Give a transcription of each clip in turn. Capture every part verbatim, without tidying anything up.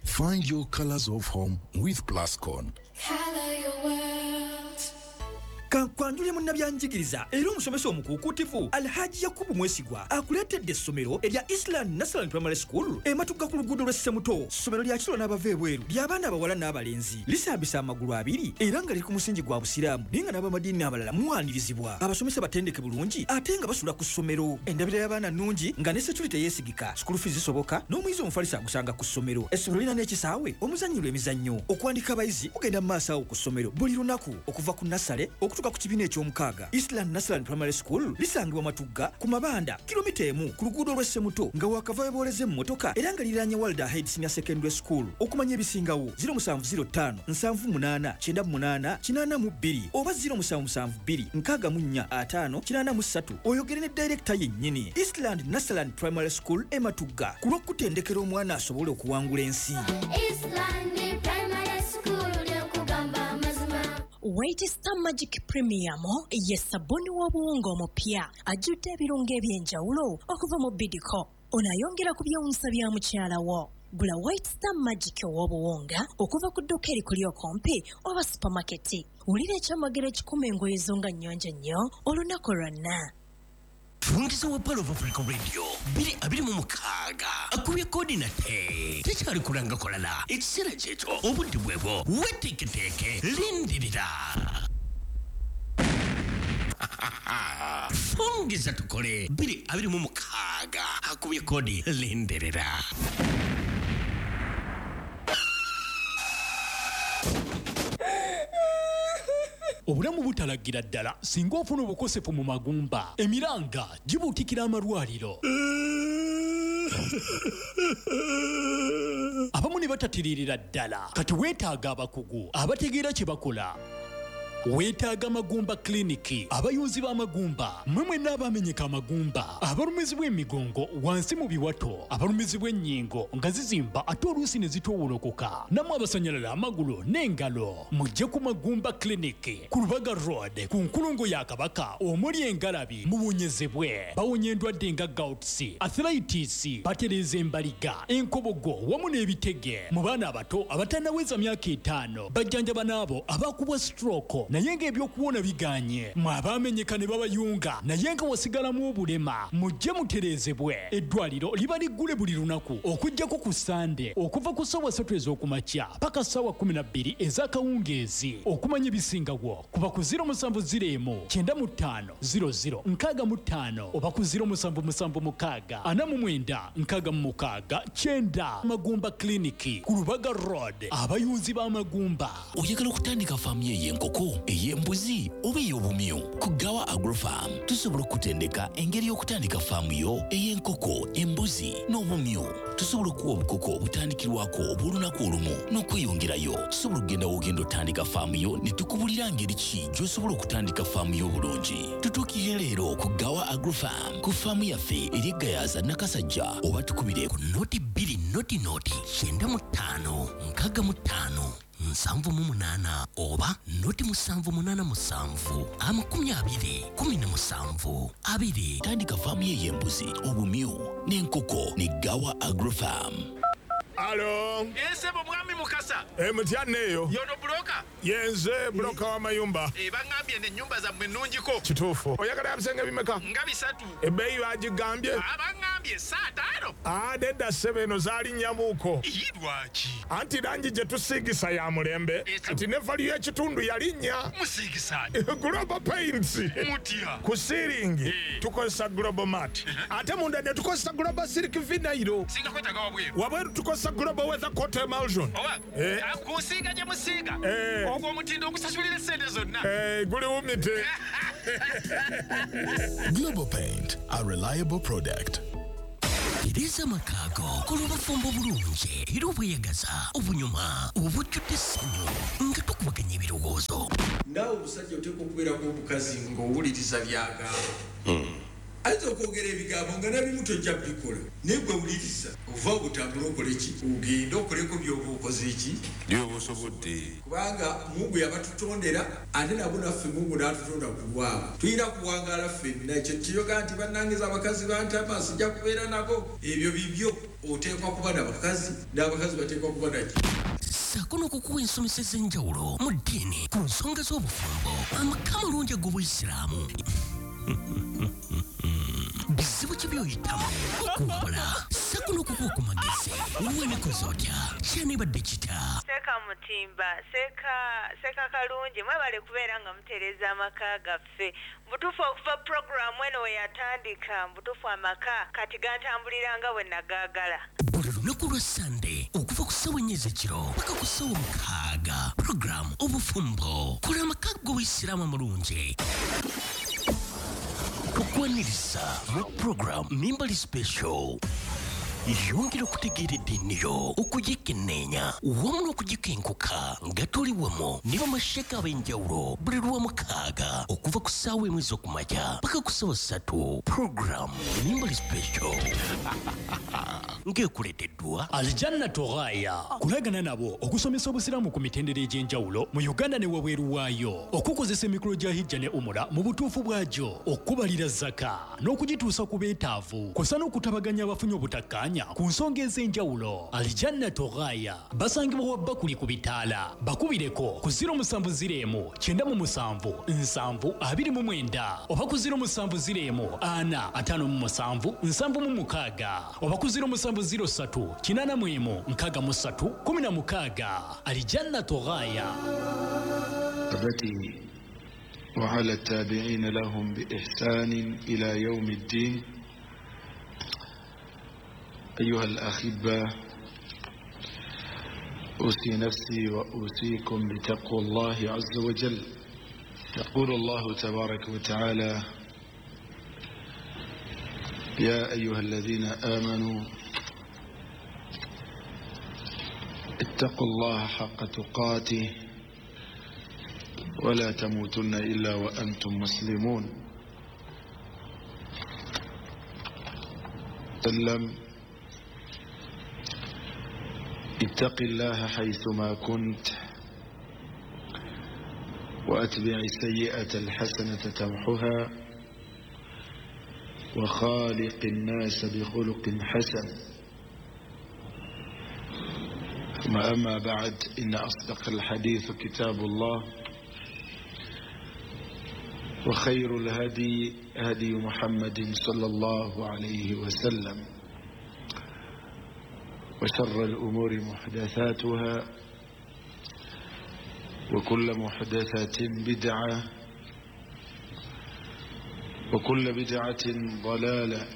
Find your colors of home with Plascon. Color your world. Kankwanjule munnabyanjigiriza era omusomesa omukuukuutivu Alhaji Yakubu Mwesigwa akuleetedde essomero erya Island National Primary School ematuga ku luguudo lw'e Ssemuto. Ssomero lya kiro n'abava ebweru ly'abaana abawala n'abalenzi, lisambisa amagulu abiri era nga liri ku musingi gwa Busiraamu, naye nga n'abamadiini abalala muwanirizibwa. Abasomesa batendeke bulungi ate nga basula ku ssomero. Endabira y'abaana nnungi nga ne security yeesigika, school fees zisoboka n'omuyizi omufalisi agusanga ku ssomero. Essomero lirina n'ekisaawe omuzannyirwa emizannyo. Okuwandika abayizi kugenda mu maaso awo ku ssomero buli lunaku okuva ku nursery okutuuka ku kibiina eky'omukaaga. Island National Primary School lisangibwa Matugga ku Mabanda, kilomita emu ku luguudo lw'e Ssemuto nga wakava webooleza emmotoka, era nga liriraanye Walda Head Senior Secondary School. Okumanya ebisingawo zero musanvu zero ttaano nsanvu munaana kyenda munaana kinaana mu bbiri oba zero musanvu musanvu bbiri nkaaga mu nnya ataano kinaana mu ssatu, oyogere ne director yennyini. Eastland National Primary School e Matugga, ku lw'okutendekera omwana asobole okuwangula ensi. Eastland Primary School, lyokugamba amazima. White Star Magic Premium ye sabbuuni w'obuwunga omupya ajjudde ebirungo eby'enjawulo okuva mu Bidco. Ono ayongera ku byewuunyisa bya mukyala wo. Gula White Star Magic ow'obuwunga okuva ku dduuka erikuli okumpi oba supamaketi. Wulira ekyamagero ekikuma engoye zo nga nnyonjo nnyo olunaku lwonna. Fungiza wa Pearl of Africa Radio bbiri abiri mu mukaaga akubye kodi nate tekyali kulanga kolala. Ekiseera kyekyo, obudde bwebwo, weteeketeeke, lindirira. Fungiza tukole bbiri abiri mu mukaaga akubye kodi, lindirira. Obulamu butalagira ddala singa ofuna obukosefu mu magumba. Emiranga gibuutikira amalwaliro, abamu ne batatiririra ddala. Kati weetaaga abakugu abategeera kye bakola. Weetaaga Magumba Clinic. Abayunzi b'amagumba, mmwe mwenna abamenyeka amagumba, abalumizibwa emigongo wansi mu biwato, abalumizibwa ennyingo nga zizimba ate oluusi ne zitoowolokoka, nammwe abasanyalala amagulu n'engalo, mujje ku Magumba Clinic ku Lubaga Road ku nkulungo ya Kabaka omuli engalabi, muwonyezebwe. Bawonya endwadde nga gouts, arthritis, batereeza embaliga, enkobogo wamu n'ebitege. Mu baana abato abatannaweza myaka etaano bajjanjaba, n'abo abakubwa stroke naye ng'ebyokuwona biganye, mwe abaamenyeka ne babayunga naye nga wasigalamu obulema, mujje mutereezebwe. Eddwaliro liba liggule buli lunaku okuggyako ku Sande okuva ku ssaawa ssatu ez'okumakya paka ssaawa kkumi na bbiri ez'akawungeezi. Okumanya ebisingawo kuba ku zero musanvu zero emu kyenda mu ttaano zero zero nkaaga mu ttaano oba ku zero musanvu musanvu mukaaga ana mu mwenda nkaaga mu mukaaga kyenda. Magumba Clinic ku Lubaga Road, abayunzi b'amagumba. Oyagala okutandika faamu yo ey'enkoko, ey'embuzi oba ey'obumyu? Ku Gawa Agrofarm tusobola okutendeka engeri y'okutandika faamu yo ey'enkoko, embuzi n'obumyu. Tusobola okuwa obukoko obutandikirwako obw'olunaku olumu n'okweyongerayo. Tusobola okugenda w'ogenda otandika faamu yo ne tukubulira ngeri ki gy'osobola okutandika faamu yo obulungi. Tutuukirire leero ku Gawa Agrofarm ku faamu yaffe eri Egayaza Nakasajja, oba tukubire ku noti bbiri noti noti kyenda mu ttaano nkaaga mu ttaano nsanvu mu munaana oba noti musanvu munaana musanvu amakumi abiri kumi na musanvu abiri. Tandika faamu ye ey'embuzi, obumyu n'enkoko ne Gawa Agrofarm. Alo. Esebo mwami Mukasa. E, mutya neeyo? Yono broker? Yenze broker w'amayumba. E, baŋŋambye n'ennyumba zammwe nnungiko. Kituufu. Oyagala ya bisenge bimeka? Nga bisatu. Ebbeeyi bagigambye? Baŋŋambye saataano. Ah, nedda ssebo, eno zaalinnyamuuko. Iyi, lwaki? Anti langi gye tusiigisa ya mulembe. Kati ne value y'ekitundu yalinnya. Musiigisa? Global Paints. Mutya? Ku ceiling tukozesa Global Mat, ate munda ne tukozesa Global Silk Vinyl. Singa kwetaaga wabweru? Wabweru tukozesa Global Weather Coat Emulsion. Oba Eh. kusiiga gye musiiga, Eh. ogwo omutindo ogusasulira essente zonna. Eh, guliwumite. Global Paint, a reliable product. Tereza amakaago kola obufumbo obulungi era obweyagaza, obunyuma, obujjudde essanyu nga tukubaganya ebirowoozo. Ndaawe omusajja oteekwa okubeerako omukazi ng'owuliriza byagamba. Ayinza okwogera ebigambo nga nabimu tojja bikola, naye gwe wuliriza ova obutambula okole ki, ogende okoleko by'oba okoze ki, by'oba osobodde. Kubanga Mungu yabatutondera, ate nabo naffe Mungu n'atutonda ku lwabwe. Tulina kuwangaala ffenna. Ekyo kiyoga nti bannange abakazi bantama sijja kubeera nabo, ebyo bibyo. Oteekwa kuba n'abakazi, n'abakazi bateekwa kuba naki. Ssaako n'okukuwa ensomesa ez'enjawulo mu ddiini ku nsonga z'obufumbo, amaka amalungi ag'obuyisiraamu. Bizibu ki by'oyitamu okuwabula, ssaako n'okukuwa ku magezi. Weekoze otya? Kyanibadde kita? Seeka Mutimba, seeka seeka Kalungi, mwebale kubeera nga mutereeza amaka gaffe. Mbutuufu okuva puroguraamu eno we yatandika, mbutuufu amaka kati gantambulira nga bwe nagaagala. Buli lunaku lwa Sande okuva ku ssaawa ennya ez'ekiro paka ku ssaawa mukaaga, puroguraamu Obufumbo, kola amaka g'obuyisiraamu amalungi. Tukwaniriza mu puroguraamu Mimbali Special. Yongera okutegeera eddiini yo, okugikenneenya wamu n'okugikenkuka nga tuli wamu ne bamasheka ab'enjawulo buli lwa mukaaga okuva ku ssaawa emu ez'okumakya paka ku ssaawa ssatu. Puroguraamu Mimbali Special ng'ekuleeteddwa Aljanna Toghaya, kulagana nabo okusomesa obusiraamu ku mitendera egy'enjawulo mu Uganda ne wabweru waayo, okukozesa emikolo gya hijja ne umura mu butuufu bwagyo, okubalira zaka n'okugituusa ku beetaavu, kw'ossa n'okutabaganya abafunye obutakkaanya ku nsonga ez'enjawulo. Aljanna Toghaya basangibwa wa Bakuli ku bitaala, bakubireko ku ziro musanvu ziro emu kyenda mu musanvu nsanvu abiri mu mwenda oba ku ziro musanvu ziro emu ana ataano mu musanvu nsanvu mu mukaaga oba ku ziro musanvu ziro ssatu kinaana mu emu nkaaga mu ssatu kumi na mukaaga. Aljanna Toghaya. وعلى التابعين لهم بإحسان إلى يوم الدين. أيها الأحبة، أوصي نفسي وأوصيكم بتقوى الله عز وجل. يقول الله تبارك وتعالى: يا أيها الذين آمنوا اتقوا الله حق تقاته ولا تموتن إلا وأنتم مسلمون. سلم. اتق الله حيثما كنت وأتبع السيئة الحسنة تمحها وخالق الناس بخلق حسن. ثم أما بعد، إن أصدق الحديث كتاب الله، وخير الهدي هدي محمد صلى الله عليه وسلم، وشر الأمور محدثاتها، وكل محدثة بدعة، وكل بدعة ضلالة،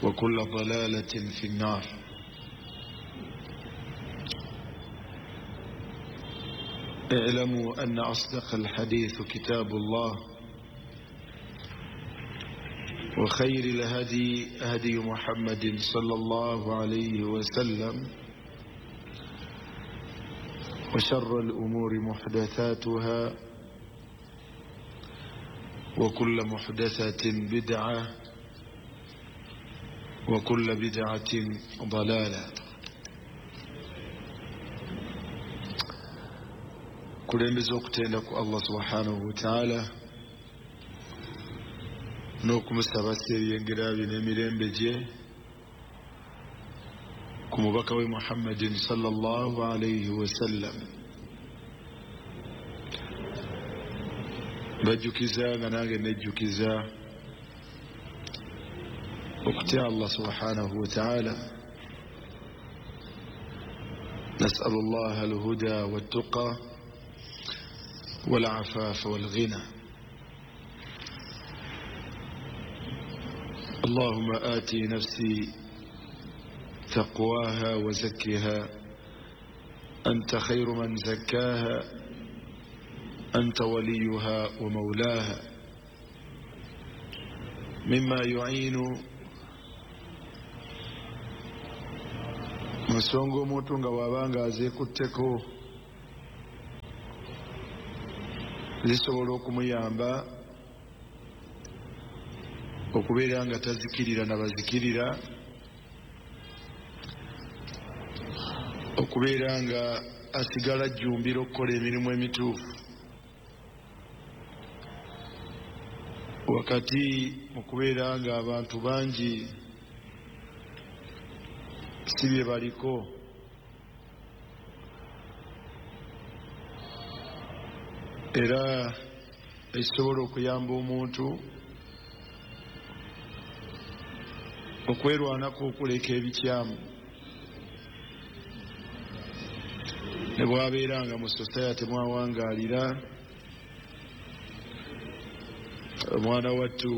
وكل ضلالة في النار. اعلموا أن أصدق الحديث كتاب الله، وخير الهدي هدي محمد صلى الله عليه وسلم، وشر الأمور محدثاتها، وكل محدثة بدعة، وكل بدعة ضلالة. Kulembeza okutenda ku Allah subhanahu wa ta'ala n'okumusaba ebyengera bye n'emirembe gye ku mubaka we Muhammadin sallallahu alayhi wa sallam. Bajjukiza nga nange nejjukiza okutya Allah subhanahu wa ta'ala. نسأل الله الهدى والتقى والعفاف والغنى. اللهم آتي نفسي تقواها وزكها، أنت خير من زكاها، أنت وليها ومولاها. مما يعين nsonga omuntu nga bw'abanga azeekutteko zisobola okumuyamba Okubeera nga tazikirira nabazikirira, okubeera nga asigala ajjumbira okukola emirimu emituufu wakati mu kubeera nga abantu bangi si bye baliko. Era ekisobola okuyamba omuntu okwerwanako okuleka ebikyamu ne bw'abeera nga mu society mwawangaalira, omwana wattu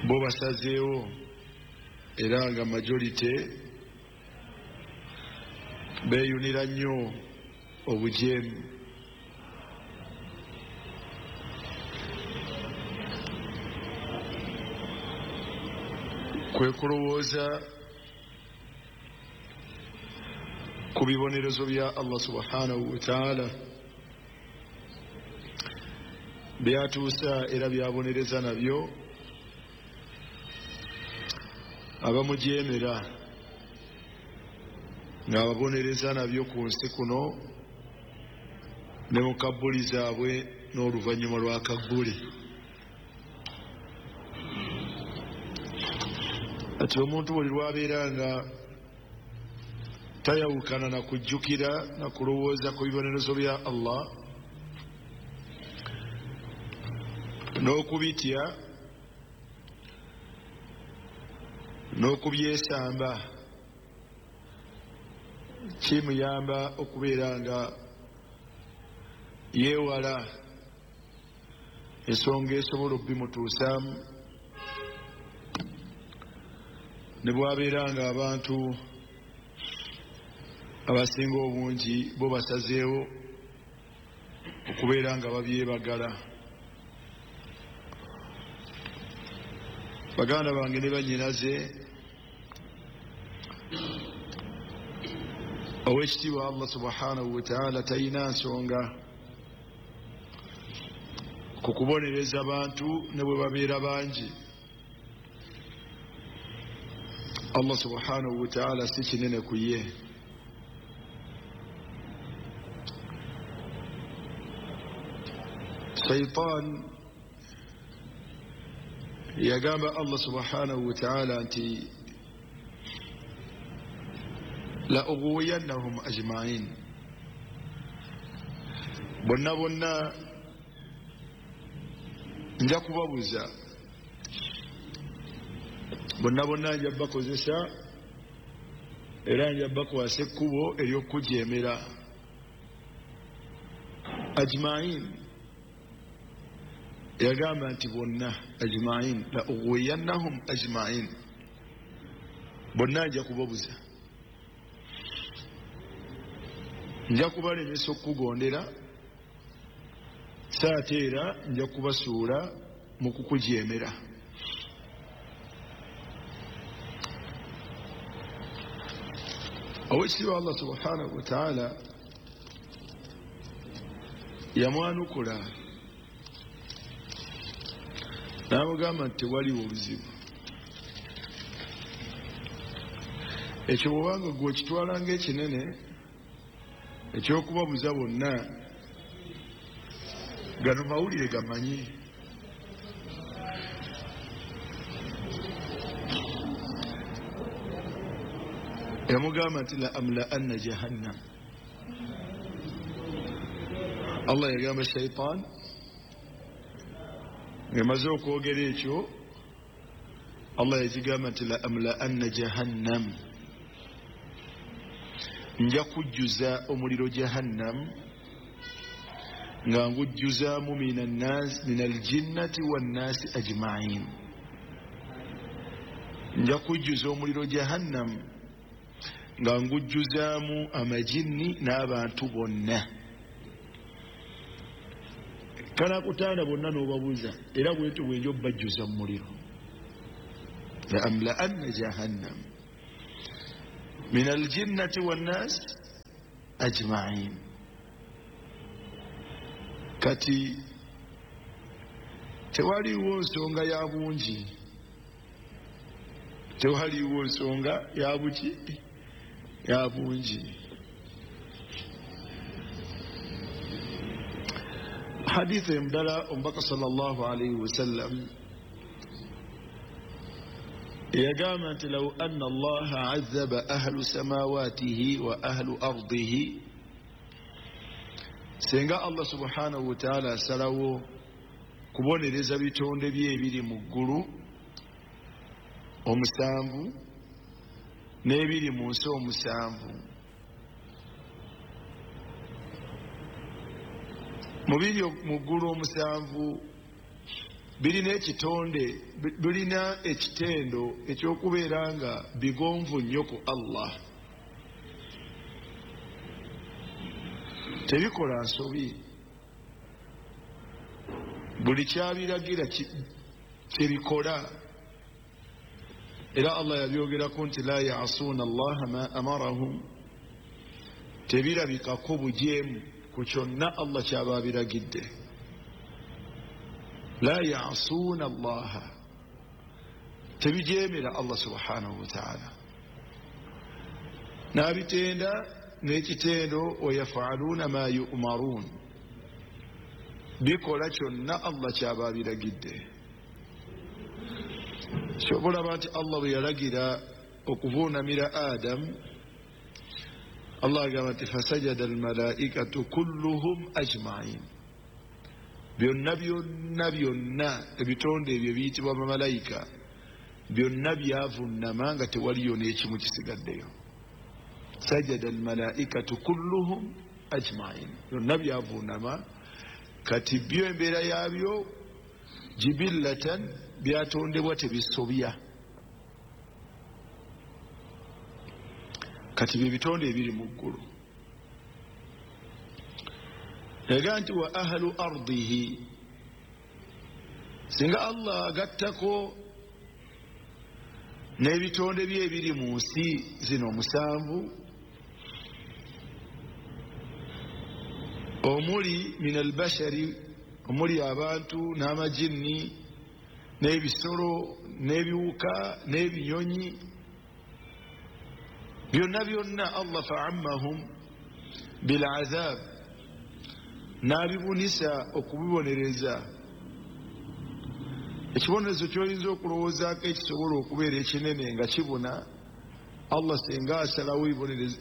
bo basazeewo era nga majority beeyunira nnyo obujeemu. Kwe kulowooza ku bibonerezo bya Allah subhanahu wa ta'ala byatuusa era byabonereza nabyo abamujeemera, ng'ababonereza nabyo ku nsi kuno ne mu kabbuli zaabwe n'oluvannyuma lwa kabbuli. Ati omuntu buli lwabeera nga tayawukana na kujjukira na kulowooza ku bibonerezo bya Allah n'okubitya n'okubyesamba, kimuyamba okubeera nga yeewala ensonga esobola okubimutuusaamu. Ne bw'abeera nga abantu abasinga obungi bo basazeewo okubeera nga babyebagala. Baganda bange ne bannyinaze, ow'ekitiibwa Allah subhanahu wa ta'ala talina nsonga ku kubonereza bantu ne bwe babeera bangi. Allah subhanahu wa ta'ala si kinene ku ye. Shaitan yagamba Allah subhanahu wa ta'ala nti la ughwiyannahum ajma'in, bonna bonna nja kubabuza, bonna bonna nja bakozesa era nja bakwasa ekkubo ery'okujeemera. Ajma'in yagamba nti bonna ajma'in, la ughwiyannahum ajma'in, bonna nja kubabuza, nja kubalemesa okukugondera, saate era nja kubasuula mu kukujeemera. Owekitiibwa Allah subhanahu wa ta'ala yamwanukula n'amugamba nti tewaliwo obuzibu. Ekyo bw'obanga gwe okitwala ng'ekinene ekyokubabuza bonna, gano mawulire gamanyi. Yamugamba nti la amla'anna jahannam. Allah yagamba shaitan ng'emaze okwogera ekyo, Allah yagigamba nti la amla'anna jahannam, nja kujjuza omuliro jahannam nga ngujjuzaamu min aljinnati wannaasi ajma'in, nja kujjuza omuliro jahannam nga ngujjuzaamu amajinni n'abantu bonna. Kanakutanda bonna n'obabuuza, era bwentyo bwenja obbajjuza mu muliro. La amla'anna jahannam min aljinnati wannaasi ajma'in. Kati Tewaliwo nsonga ya bungi, tewaliwo nsonga ya buki ya bungi. Hadithi endala, omubaka sallallahu alaihi wasallam yagamba nti law anna allaha azaba ahlu samawatihi wa ahlu ardihi, singa Allah subhanahu wa ta'ala asalawo kubonereza bitonde bye ebiri mu ggulu omusanvu n'ebiri mu nsi omusanvu, mu biri mu ggulu omusanvu birina ekitonde, birina ekitendo ekyokubeera nga bigonvu nnyo ku Allah, tebikola nsobi, buli kyabiragira kyebikola. Era Allah yabyogerako nti la yasuuna allaha ma amarahum, tebirabikako bujeemu ku kyonna Allah kyaba abiragidde. La yasuuna allaha, tebijeemera Allah subhanahu wa ta'ala, n'abitenda n'ekitendo wayafaaluuna ma yu'maruun, bikola kyonna Allah kyaba abiragidde. Kyobulaba nti Allah bwe yalagira okuvuunamira Adamu, Allah agamba nti fasajada almalaikatu kulluhum ajmain, byonna byonna byonna ebitonde ebyo biyitibwa bamalayika byonna byavuunama nga tewaliyo n'ekimu kisigaddeyo. Sajada almalaikatu kulluhum ajmain, byonna byavuunama. Kati byo embeera yaabyo jibillatan, byatondebwa tebisobya. Kati bye bitonde ebiri mu ggulu. Yaga nti wa ahlu ardihi, singa Allah agattako n'ebitonde bye ebiri mu nsi zino omusanvu, omuli min albashari, omuli abantu n'amajinni n'ebisolo n'ebiwuka n'ebinyonyi, byonna byonna Allah fa'ammahum bil'azab, n'abibunisa okubibonereza. Ekibonerezo ky'oyinza okulowoozaako ekisobola okubeera ekinene nga kibuna, Allah singa asalawo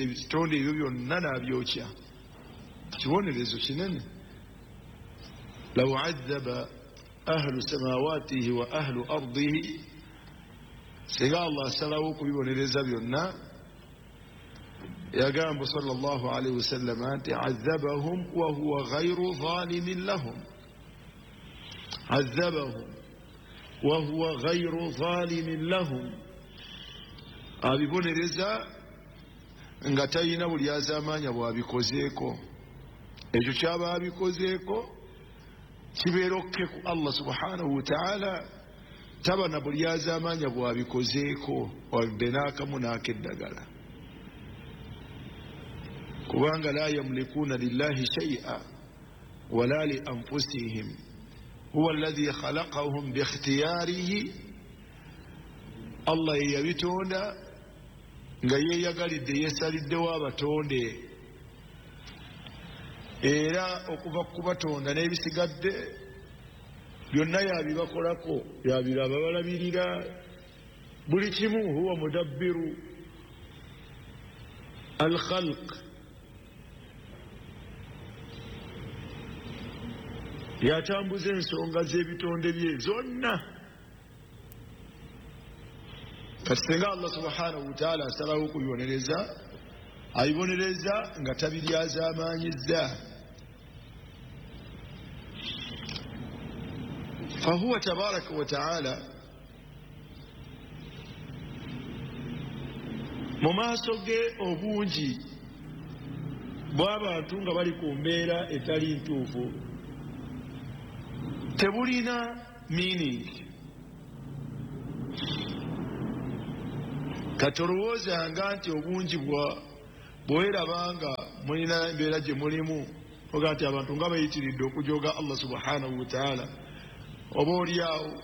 ebitonde ebyo byonna n'abyokya, kibonerezo kinene. Law azaba ahlu samawatihi wa ahlu ardihi, singa Allah asalawo okubibonereza byonna, yagamba sallallahu alaihi wasallam nti azabahum wa huwa ghayru zalimin lahum, azabahum wa huwa ghayru zalimin lahum, abibonereza nga talina buli azaamaanya bw'abikozeeko. Ekyo kyaba abikozeeko kibeera okke ku Allah subhanahu wa ta'ala, taba na buli azaamaanya bw'abikozeeko wadde n'akamu n'akeddagala, kubanga la yamlikuuna lillahi shay'a wala li anfusihim huwa alladhi khalaqahum biikhtiyarihi, Allah ye yabitonda nga yeeyagalidde, yeesaliddewo abatonde, era okuva kubatonda n'ebisigadde byonna yabibakolako, yabiraba balabirira buli kimu. Huwa mudabbiru alkhalq, yatambuza ensonga z'ebitonde bye zonna. Kati singa Allah subhanahu wa ta'ala asalawo okubibonereza, abibonereza nga tabiryazaamaanyizza. Fahuwa tabaraka wa ta'ala mu maaso ge obungi bw'abantu nga bali ku mbeera etali ntuufu tebulina meaning. Kati olowoozanga nti obungi bwerabanga mulina embeera gye mulimu, oga nti abantu nga bayitiridde okujoga Allah subhanahu wa ta'ala, Oba oliawo